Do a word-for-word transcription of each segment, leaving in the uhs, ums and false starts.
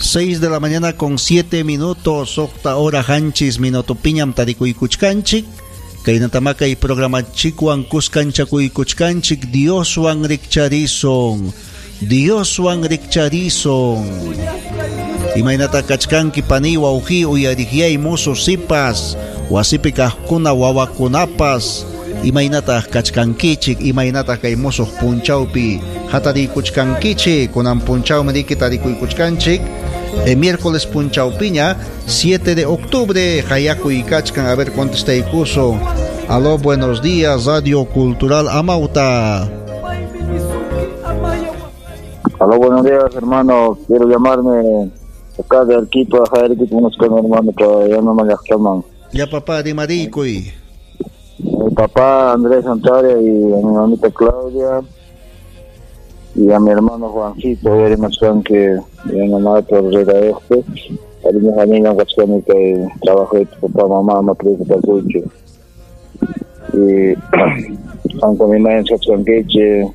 Seis de la mañana con siete minutos, suqta hora qanchis minutopiñam tarikuykuchkanchik. Kaynatamá kay programanchikwan kuskanchakuykuchkanchik. Dioswan rikcharisun, Dioswan rikcharisun. Imaynata kachkanki pani wawqi uyariqyay musu sipas, wasipi kaqkuna wawakunapas. Imaynataq kachkankichik, imaynataq kay musuq punchawpi hatariykuchkankichik. Kunan punchawmi riki tarikuykuchkanchik. El miércoles punchawpiña, siete de octubre, hayakuy kachkan. A ver, contestaykusun. Aló, buenos días, Radio Cultural Amauta. Aló, buenos días, hermano. Quiero llamarme acá de Arequipa, Arequipa, unos con hermano, que ya no me llaman. Ya, papá, rimarikuy. Mi papá Andrés Antaria y a mi mamita Claudia y a mi hermano Juancito, y a que mi mamá por este, que trabajo de papá, mamá, mamá, y aunque mi madre se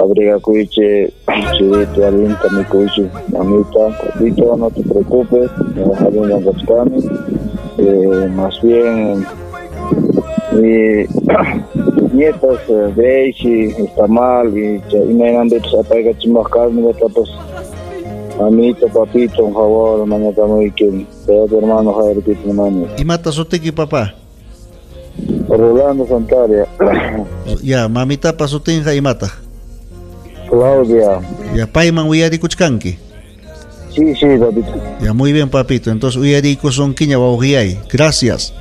abriga cuiche, chirito, alinta, mi cuiche, mamita, papito, no te preocupes, me eh, más bien mi mis nietos, Daisy, está mal, y y me han dicho, pues, mamito, papito, por favor, mañana muy que tu hermano Javier, hermano. ¿Y mata sutiki, papá? Rolando Santaria. Ya, mamita pasutinja y mata. Claudia. Ya, payman uyarikuchkanki. Sí, sí, papito. Ya, muy bien, papito. Entonces, uyarikusunkiña wawqiyay. Gracias.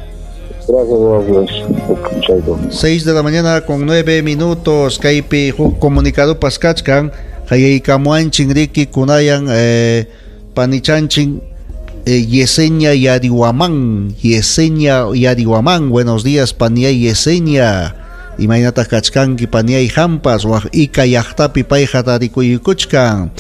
Gracias, gracias. Seis de la mañana con nueve minutos. Kaypi huk comunicado paskachkan. Hayaykamuanchin riki kunayan eh, panichanchin eh, Yesenia Yarihuamán. Yesenia Yarihuamán. Buenos días, paniay Yesenia. Imaynataq kachkanki paniay hampas waq ika llaqtapi payqa tarikuykuchkan.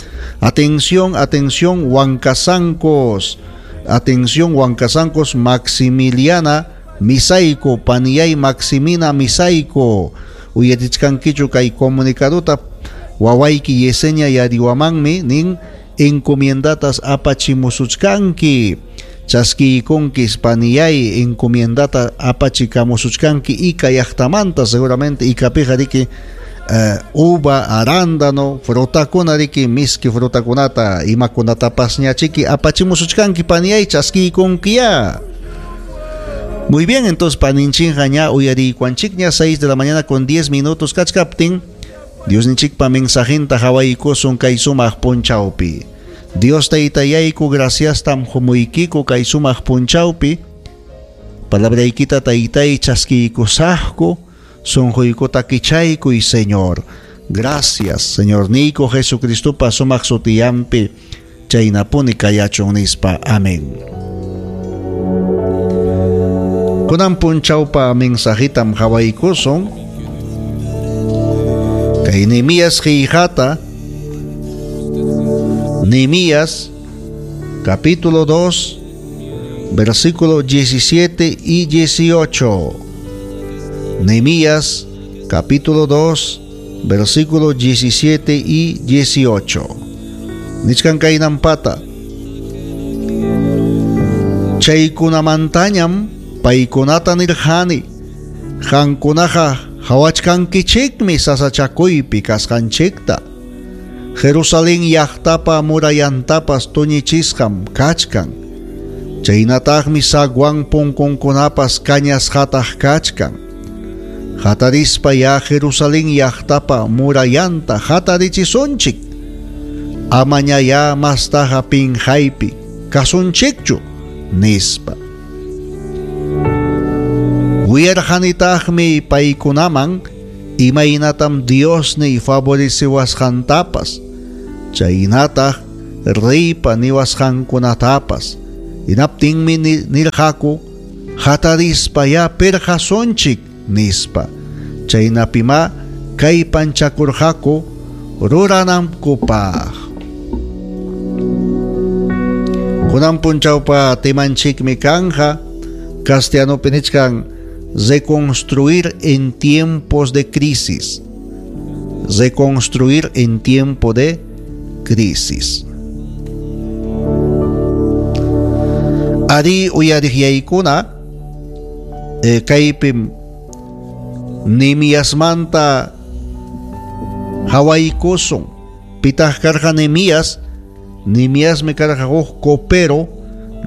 Atención, atención, Huancasancos. Atención, Huancasancos, Maximiliana Misaico, paniay Maximina Misaico. Uyarichkankichu kay comunicaduta wawayki Yesenia Yarihuamanmi nin encomiendatas apachimusuchkanki. Chaskiykunkis paniyay encomiendata apachikamusuchkanki ika llaqtamanta, seguramente ikapiqa riki uh, uva, arándano, frutakuna riki, miski frutakunata, imakunatapas ñachiki apachimusuchkanki paniyay, chaskiykunkiya. Muy bien, entonces paninchinqa ña uyariykuanchikña, seis de la mañana con diez minutos kachkaptin, Diosninchikpa mensajinta hawaykusun kay sumaq punchawpi. Dios taytayayku, graciastam humuykiku kay sumaq punchawpi. Palabraykita taytay chaskiykusaqku, sunquykuta kichaykuy, Señor. Gracias, Señor Nico Jesucristopa sumaq sutiyampi, chaynapuni kayachun nispa. Amén. Kunan punchawpa mensajitam hawaykusun. Kay Nehemías qillqata, Nehemías capítulo dos, versículo diecisiete y dieciocho. Nehemías capítulo dos, versículo diecisiete y dieciocho. Nichkan kaynampata. Chaykunamantañam paykunata nirqani, qankunaqa hawachkankichikmi sasachakuypi kasqanchikta. Jerusalén llaqtapa murayantapas tuñichisqam kachkan. Chaynataqmi zaguán punkunkunapas kañasqataq kachkan. Hatarispa ya Jerusalén llaqtapa murayanta hatarichisunchik. Amaña ya mastaqa pinqaypi kasunchikchu, nispa. Wiyarqanitaqmi paykunaman imaynatam Diosniy favoreciwasqantapas, chaynataq reypa niwasqankunatapas. Hinaptinmi nirqaku, hatarispa ya pirqasunchik, nispa. Chaynapima kaypanchakurqaku ruranankupaq. Kunan punchawpa temanchikmi kanja, castellanopi nichkan reconstruir en tiempos de crisis. Reconstruir en tiempo de crisis. Ari uyariqyaykuna eh, kaypim Nehemiasmanta hawaykusun. Pitaq karqa Nehemías? Nehemiasmi karqa huk copero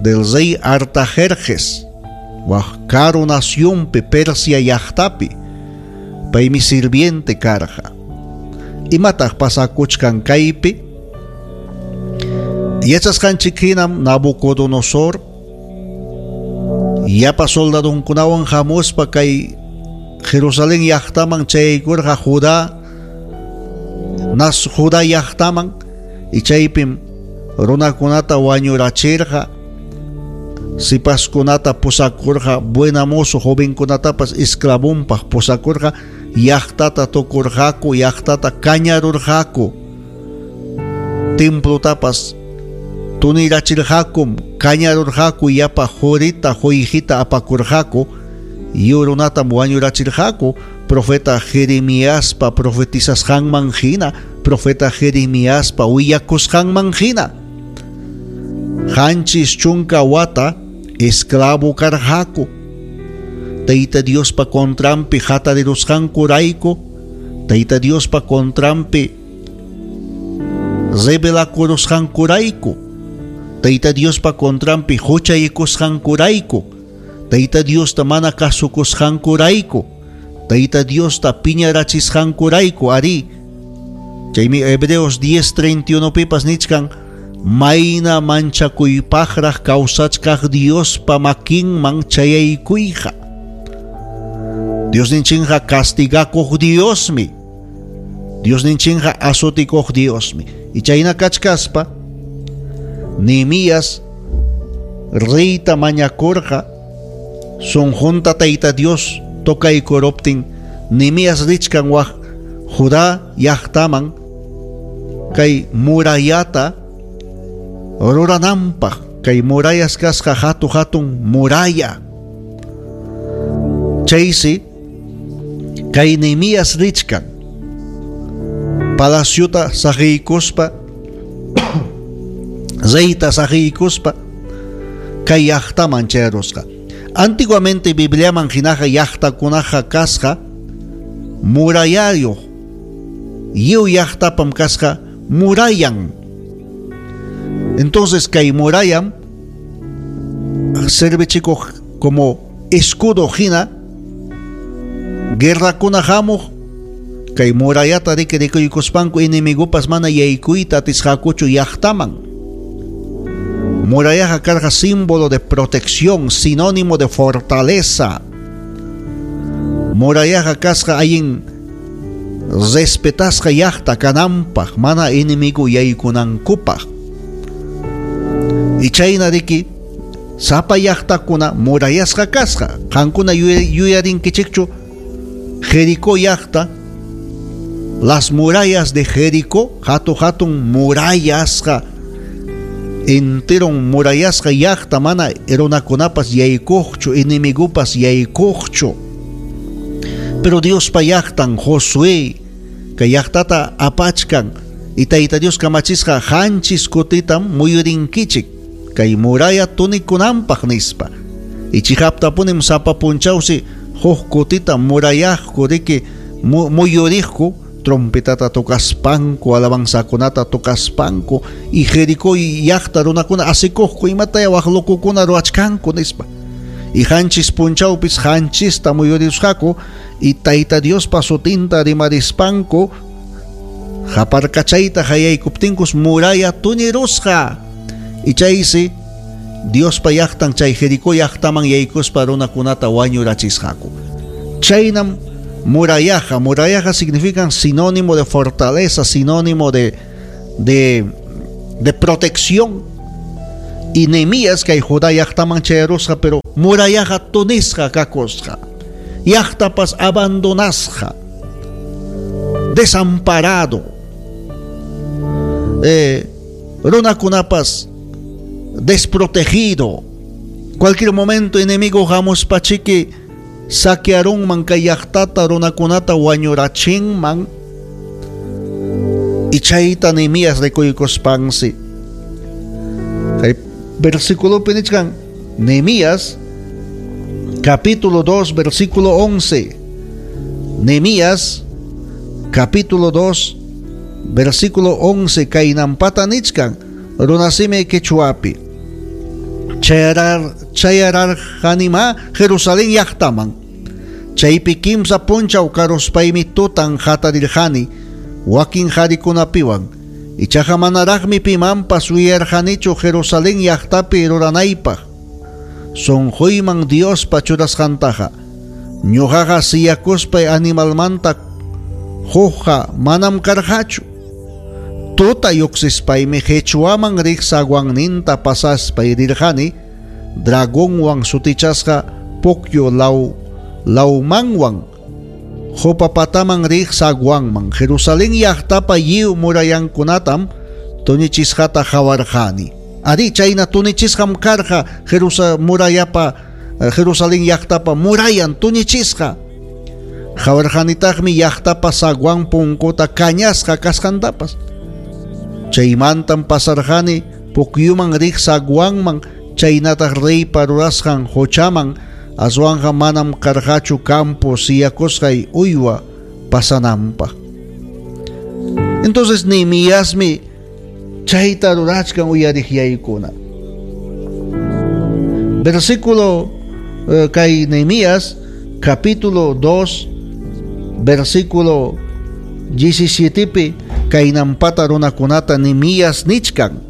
del rey Artajerjes, wak karu nacionpi Persia llaqtapi. Paymi sirviente karqa. Imataq pasakuchkan kaypi? Yachasqanchik hinam Nabucodonosor yapa soldadunkunawan hamuspa kay Jerusalén llaqtaman chayaykurqa Judá nas Judá llaqtaman y chaypim runakunata wañurachirqa, sipaskunata pusakurqa, buena mozo jovenkunatapas esclavonpaq pusakurqa, llaqtata tukurqaku, llaqtata kañarurqaku, templotapas tunirachirqakum, kañarurqaku, yapa jurita, joyjita apakurqaku, yurunatam wañurachirqaku, profeta Jeremiaspa profetizasqanman hina, profeta Jeremiaspa willakusqanman hina. Qanchis chunka wata esclavo karqaku. Tayta Diospa contranpi hatarirusqankurayku, Tayta Diospa contranpi rebelakurusqankurayku, Tayta Diospa contranpi huchaykusqankurayku, Tayta Diosta mana kasukusqankurayku, Tayta Diosta piñarachisqankurayku. Ari, chaymi Hebreos diez treinta y uno pipas nichkan, mayna manchakuypaqraq kawsachkaq Diospa makinman chayaykuyqa. Diosninchinqa castigakuq Diosmi, Diosninchinqa azotikuq Diosmi. Y chayna kachkaspa Nehemías reyta mañakurqa, sunqunta Tayta Dios tokaykuroptin Nehemías richkan wak Judá llaqtaman kay murallata rurananpaq, kay murallas kasqa hatu hatun muralla. Chaysi kay Nehemías richkan palaciota saqiykuspa, reyta saqiykuspa kay llaqtaman chayarusqa. Antiguamente Bibliaman hinaqa llaqtakunaqa kasqa murallayuq, lliw llaqtapam kasqa murallan. Entonces kay murallam servichikuq como escudo hina guerrakuna hamuq, kay murallata riki rikuykuspanku enemigupas mana yaykuyta atisqakuchu llaqtaman. Murallaqa karqa símbolo de protección, sinónimo de fortaleza. Murallaqa kasqa allin respetasqa llaqta kananpaq, mana enemigo yaykunankupaq. Y chayna riki sapa llaqtakuna murallasqa kasqa. Qankuna yuyarinkichikchu Jericó llaqta, las murallas de Jericó, hatu hatun murallasqa, enteron murallasqa llaqta, mana runakunapas yaykuqchu, enemigupas yaykuqchu. Pero Diospa llaqtan Josué kay llaqtata apachkan y Tayta Dios kamachisqa qanchis kutitam muyurinkichik kay muralla tunikunanpaq nispa. Y chihaptapunim sapa punchawsi huk kutita murallaqku riki muyuriqku, trompetata tocaspanku, alabanzakunata tocaspanku, y Jericó llaqta runakuna asikuqku, imataya wak lokukuna ruwachkanku nispa. Y qanchis punchawpis qanchista muyurisqaku, y Tayta Diospa sutinta rimarispanku qaparkachayta hayaykuptinkus muralla tunirusqa. Y chaysi Diospa llaqtan chay Jericó llaqtaman yaykuspa runakunata wañurachisqaku. Chaynam murallaqa. Murallaqa significa sinónimo de fortaleza, sinónimo de, de, de protección. Y Nehemías kay Judá llaqtaman chayarusqa, pero murallaqa tunisqa kakusqa, llaqtapas abandonasqa, desamparado. Eh, runakunapas desprotegido. Cualquier momento enemigo hamuspachiki saquearunman kay llaqtata, runakunata wañurachinman. Y chayta Nehemías rikuykuspansi kay versículo pinichkan Nehemías capítulo dos versículo once. Nehemías capítulo dos versículo once kaynampata nichkan runasimi quechuapi. Chayarar chayararqanima Jerusalén llaqtaman. Chaypi kimsa punchaw karuspaymi tutan hatarirqani wakin harikunapiwan. Ichaqa manaraqmi pimanpas willarqanichu Jerusalén llaqtapi ruranaypaq. Sunquyman Diospa churasqantaqa ñuqaqa siyakuspay animalmanta hukqa manam karqachu. Tuta lluqsispaymi qhichwaman riq saguanninta pasaspay rirqani dragonwan sutichasqa pukyu law lawmanwan Jopapataman riq saguanman Jerusalén llaqtapa lliw murayankunatam tuñichisqata qawarqani. Ari chayna tuñichisqam karqa Jerusa murayapa Jerusalén llaqtapa murayan tuñichisqa. Qawarqanitaqmi llaqtapa saguan punkuta kañasqa kasqantapas. Chaymantam pasarqani pukyuman riq saguanman chaynataq reypa rurasqan quchaman aswanqa manam karqachu campo siyakusqay uywa pasananpaq. Entonces Nehemiasmi chayta rurachkan uyariqyaykuna. Versículo eh, kay Nehemías capítulo dos versículo diecisiete kaynampata runakunata Nehemías nichkan.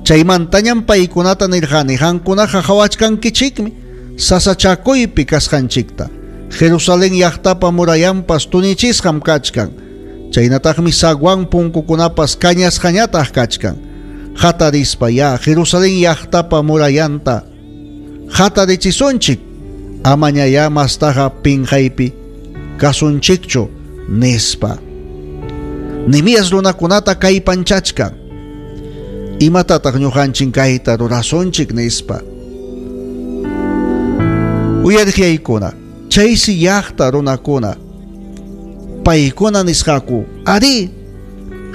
Chaymantañam paykunata nirqani qankunaqa qhawachkankichikmi sasachakuypi kasqanchikta. Jerusalén llaqtapa murayanpas tuñichisqam kachkan. Chaynataqmi saguan punkukunapas kañasqañataq kachkan. Hatarispa ya Jerusalén llaqtapa murayanta hatarichisunchik amañaya mastaqa pinqaypi kasunchikchu nispa. Nehemías runakunata kaypanchachkan. Imatataq ñuqanchik kayta rurasunchik nispa. Uyariqyaykuna chaysi llaqta runakuna paykuna nisqaku ari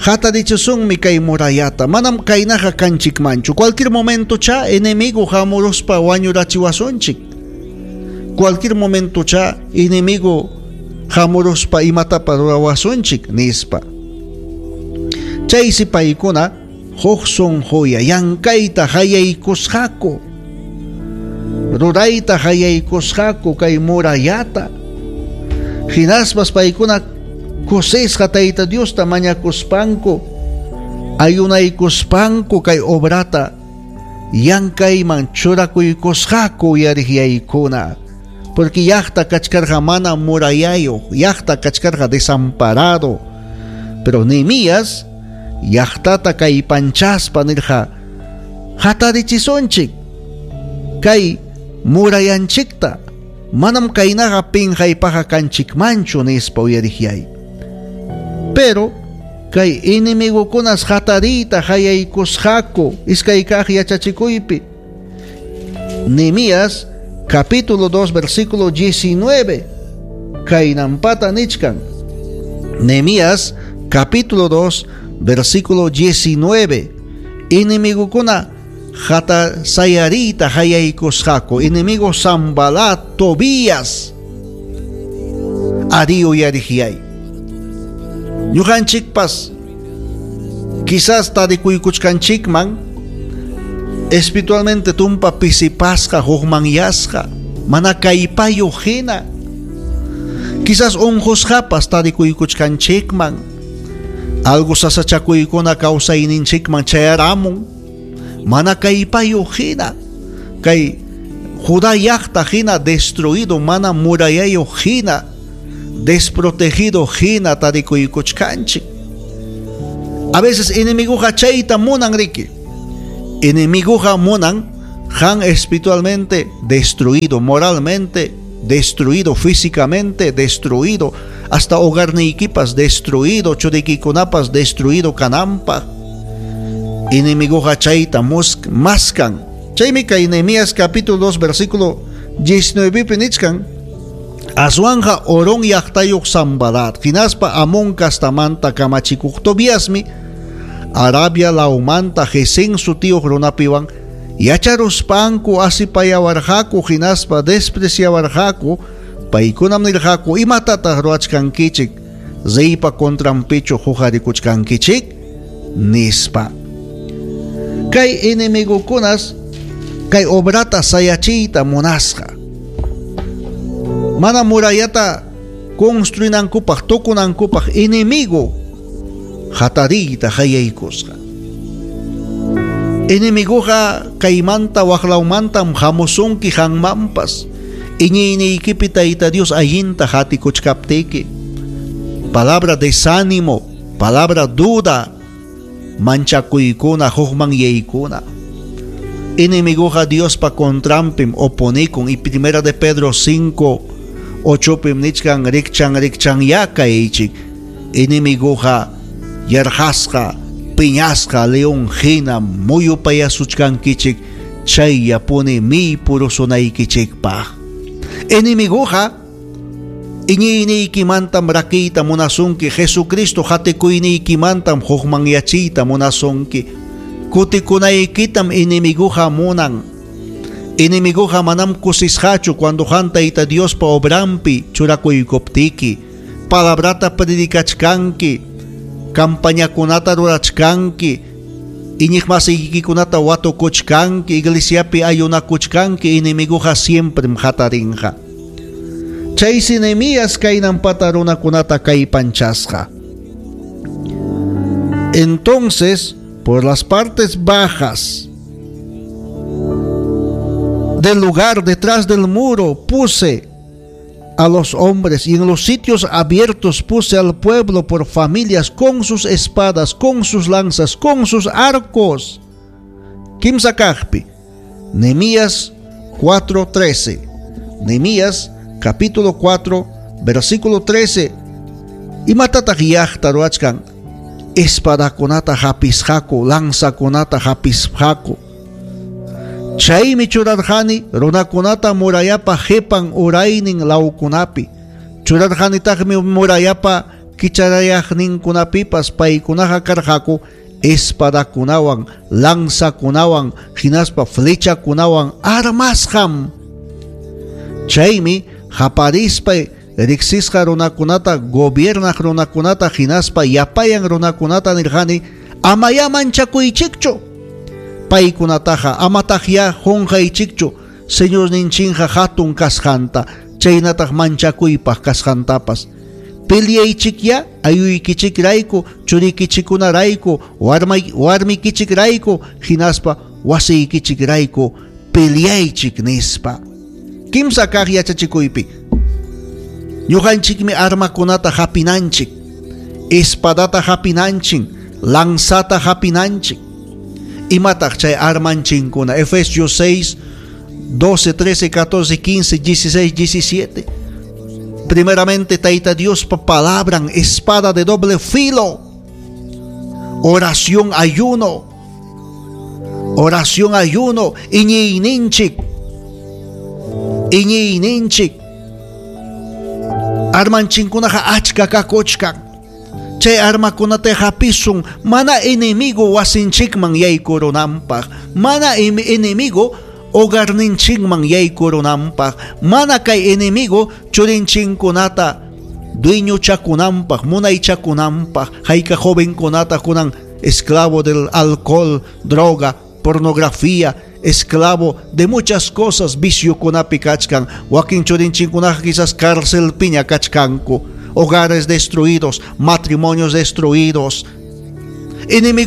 hatarichisunmi kay murayata manam kaynaqa kanchikmanchu. Cualquier momento cha enemigo hamuruspa wañurachiwasunchik. Cualquier momento cha enemigo hamuruspa imatapa rurawasunchik nispa. Chaysi paykuna huk sunquya llankayta hayaykusqaku rurayta hayaykusqaku kay murayata. Hinaspas paykuna kusisqa Tayta Diosta mañakuspanku ayunaykuspanku kay obrata llankayman churakuykusqaku uyariqyaykuna. Porque llaqta kachkarqa mana murayayuq, llaqta kachkarqa desamparado. Pero Nehemías llaqtata kaypanchaspa nirqa hatarichisunchik kay murayanchikta manam kaynaqa pinqaypaqa kanchikmanchu nispa uyariqyay. Pero kay enemigukunas hatariyta hayaykusqaku iskay kaq yachachikuypi. Nehemías capítulo dos versículo diecinueve kaynampata nichkan. Nehemías capítulo dos versículo diecinueve enemigukuna hata sayarita hayaykusqaku enemigo Sanbalat, Tobías ari uyariqyay. Ñuqanchikpas quizás tarikuykuchkanchikman espiritualmente tumpa pisipasqa hukmanyasqa mana kaypayuq hina. Quizás unqusqapas tarikuykuchkanchikman algo sasachakuykuna kawsayninchikman chayaramun mana kaypayuq hina. Kay Judá llaqta hina destruido mana murayayuq hina desprotegido hina tarikuykuchkanchik. A veces enemiguqa chayta munan riki. Enemiguqa munan han espiritualmente destruido, moralmente destruido, físicamente destruido, hasta hogarniykipas destruido, churiykikunapas destruido kananpaq. Enemiguqa chayta maskan. Chaymi kay Nehemías capítulo dos versículo diecinueve nichkan. Aswanja Orón llaqtayuq Sanbalat hinaspa Amón kastamanta kamachikuq Tobiasmi Arabia lawmanta Gesén sutiyuq runapiwan Yacharuspanku asipayawarqaku hinaspa despreciawarqaku, paykunam nirqaku imatataq ruwachkankichik, reypa contranpichu huqarikuchkankichik, nispa. Kay enemigukunas kay obrata sayachiyta munasqa. Mana murallata construinankupaq tukunankupaq enemigo hatariyta hayaykusqa. Enemiguqa kaymanta waqlawmantam hamusunki hanmanpas. Iñiyniykipi Tayta Dios allinta hatikuchkaptiki. Palabra desánimo, palabra duda, manchakuykuna, hukmanyaykuna. Enemiguqa Diospa contranpim oponikun y primera de Pedro cinco ochopim nichkan rikchan rikchan yakaychik. Enemiguqa yarqasqa, piñasqa león hina muyupayasuchkankichik chayllapuni miypurusunaykichikpaq. Enemiguqa iñiyniykimantam rakiyta munasunki, Jesucristo hatikuyninkimantam hukmanyachiyta munasunki. Kutikunaykitam enemiguqa munan. Enemiguqa manam kusisqachu cuando qan Tayta Diospa obranpi churakuykuptiki, palabrata predicachkanki, campañakunata rurachkanki, iñiqmasiykikunata watukuchkanki, iglesiapi ayunakuchkanki, enemiguqa siemprem hatarinqa. Chaysi Nehemías kaynampata runakunata kallpanchasqa. Entonces, por las partes bajas del lugar detrás del muro puse a los hombres, y en los sitios abiertos puse al pueblo por familias con sus espadas, con sus lanzas, con sus arcos. Kimsa kaqpi, Nehemías cuatro trece. Nehemías capítulo cuatro, versículo trece. Imatataq llaqta ruwachkan? Espadakunata hapisqaku, lanzakunata hapisqaku. Chaymi churarqani runakunata murallapa qipan uraynin lawkunapi. Churarqanitaqmi murallapa kicharayaqninkunapipas paykunaqa karqaku espadakunawan, lanzakunawan, hinaspa flechakunawan armasqam. Chaymi haparispay riqsisqa runakunata, gobiernaq runakunata, hinaspa yapayan runakunata nirqani, amaya manchakuychikchu. Paykunataqa amataqya qunqaychikchu Señorninchikqa hatun kasqanta, chaynataq manchakuypaq kasqantapas. Peleaychikya ayuykichikrayku, churikichikunarayku, warmikichikrayku, hinaspa wasiykichikrayku peleaychik nispa. Kimsa kaq yachachikuypi ñuqanchikmi armakunata hapinanchik, espadata hapinanchik, lanzata hapinanchik. Imataq chay armanchinkuna? Efesios seis, doce, trece, catorce, quince, dieciséis, diecisiete. Primeramente, Tayta Diospa palabran, espada de doble filo, oración, ayuno, oración, ayuno, iñiyninchik, iñiyninchik. Armanchinkunaqa achka kakuchkan. Chay armakunata hapisun mana enemigo wasinchikman yaykurunanpaq, mana enemigo hogarninchikman yaykurunanpaq, mana kay enemigo churinchinkunata dueñochakunanpaq, munaychakunanpaq. Hayka jovenkunata kunan esclavo del alcohol, droga, pornografía, esclavo de muchas cosas, viciokunapi kachkan. Wakin churinchinkunaqa quizás cárcelpiña kachkanku. Hogares destruidos, matrimonios destruidos. Enemigo